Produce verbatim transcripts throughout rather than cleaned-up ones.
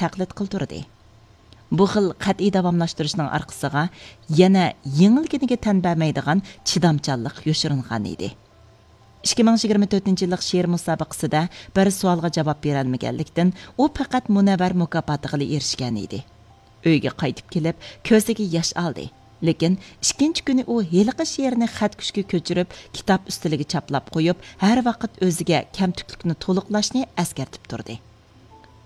تەقلىد قىلدۇردى. بۇ خىل قەتئىي داۋاملاشتۇرۇشنىڭ ئارقىسىغا يەنە يېڭىلگىنىگە تەن بەرمەيدىغان چىدامچانلىق يوشۇرۇنغان ئىدى. ئىككى مىڭ يىگىرمە تۆتىنچى يىللىق شېئىر مۇسابىقىسىدە بىر سوئالغا جاۋاب بېرەلمىگەنلىكتىن، ئۇ پەقەت مۇنەۋۋەر مۇكاپاتىغىلا ئېرىشكەن ئىدى. ئۆيگە قايتىپ كېلىپ، كۆزىگە ياش ئالدى. لېكىن ئىككىنچى كۈنى ئۇ ھېلىقى شېئىرنى خەتكۈچكە كۆچۈرۈپ، كىتاب ئۈستىلىگە چاپلاپ قويۇپ، ھەر ۋاقىت ئۆزىگە كەمتۈكلۈكنى تولۇقلاشنى ئەسكەرتىپ تۇردى.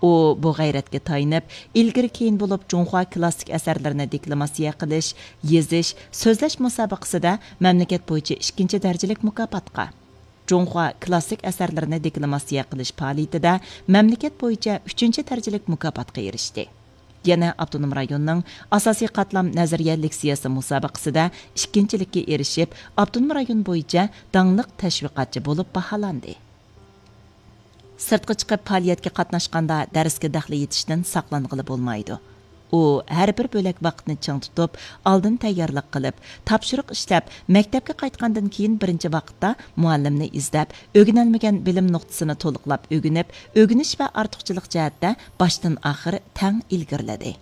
ئۇ بۇ غەيرەتكە تايىنىپ، ئىلگىرى كېيىن بولۇپ جۇڭخۇا كلاسسىك ئەسەرلىرىنى دېكلاماتسىيە قىلىش، يېزىش، سۆزلەش مۇسابىقىسىدە مەملىكەت بويىچە ئىككىنچى دەرىجىلىك مۇكاپاتقا، جۇڭخۇا كلاسسىك ئەسەرلىرىنى دېكلاماتسىيە قىلىش پائالىيىتىدە مەملىكەت بويىچە ئۈچىنچى دەرىجىلىك مۇكاپاتقا ئېرىشتى. يەنە ئاپتونوم رايوننىڭ ئاساسىي قاتلام نەزەرىيە لېكسىيەسى مۇسابىقىسىدە ئىككىنچىلىككە ئېرىشىپ، ئاپتونوم رايون بويىچە داڭلىق تەشۋىقاتچى بولۇپ باھالاندى. سىرتقا چىقىپ پائالىيەتكە قاتناشقاندا دەرسكە دەخلى يېتىشتىن ساقلانغىلى بولمايدۇ. ئۇ ھەر بىر بۆلەك ۋاقىتنى چىڭ تۇتۇپ، ئالدىن تەييارلىق قىلىپ، تاپشۇرۇق ئىشلەپ، مەكتەپكە قايتقاندىن كېيىن بىرىنچى ۋاقىتتا مۇئەللىمنى ئىزدەپ، ئۆگىنەلمىگەن بىلىم نۇقتىسىنى تولۇقلاپ ئۆگىنىپ، ئۆگىنىش ۋە ئارتۇقچىلىق جەھەتتە باشتىن ئاخىر تەڭ ئىلگىرىلىدى.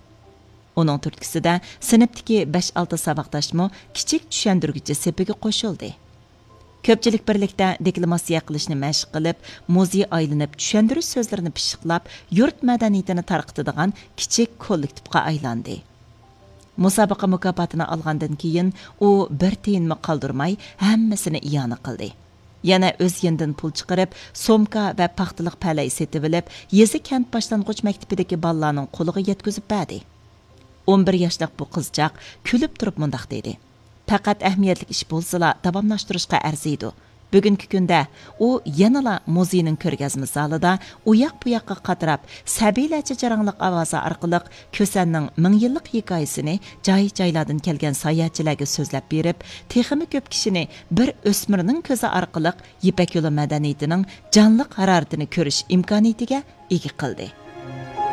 ئۇنىڭ تۈرتكىسىدە سىنىپتىكى بەش-ئالتە ساۋاقداشمۇ كىچىك چۈشەندۈرگۈچى سېپىگە قوشۇلدى. كۆپچىلىك بىرلىكتە دېكلاماتسىيە قىلىشنى مەشىق قىلىپ، مۇزېي ئايلىنىپ چۈشەندۈرۈش سۆزلىرىنى پىششىقلاپ، يۇرت مەدەنىيىتىنى تارقىتىدىغان كىچىك كوللېكتىپقا ئايلاندى. مۇسابىقە مۇكاپاتىنى ئالغاندىن كېيىن، ئۇ بىر تىيىنمۇ قالدۇرماي ھەممىسىنى ئىئانە قىلدى. يەنە ئۆز يېنىدىن پۇل چىقىرىپ، سومكا ۋە پاختىلىق پەلەي سېتىۋېلىپ، يېزا كەنت باشلانغۇچ مەكتىپىدىكى بالىلارنىڭ قولىغا يەتكۈزۈپ بەردى. ئون بىر ياشلىق بۇ قىزچاق كۈلۈپ تۇرۇپ مۇنداق دېدى: «پەقەت ئەھمىيەتلىك ئىش بولسىلا، داۋاملاشتۇرۇشقا ئەرزىيدۇ.» بۈگۈنكى كۈندە ئۇ يەنىلا مۇزېينىڭ كۆرگەزمە زالىدا ئۇياق-بۇياققا قاتراپ، سەبىيلەرچە جاراڭلىق ئاۋازى ئارقىلىق كۈسەننىڭ مىڭ يىللىق ھېكايىسىنى جاي-جايلاردىن كەلگەن ساياھەتچىلەرگە سۆزلەپ بېرىپ، تېخىمۇ كۆپ كىشىنى بىر ئۆسمۈرنىڭ كۆزى ئارقىلىق يىپەك يولى مەدەنىيىتىنىڭ جانلىق ھارارىتىنى كۆرۈش ئىمكانىيىتىگە ئىگە قىلدى.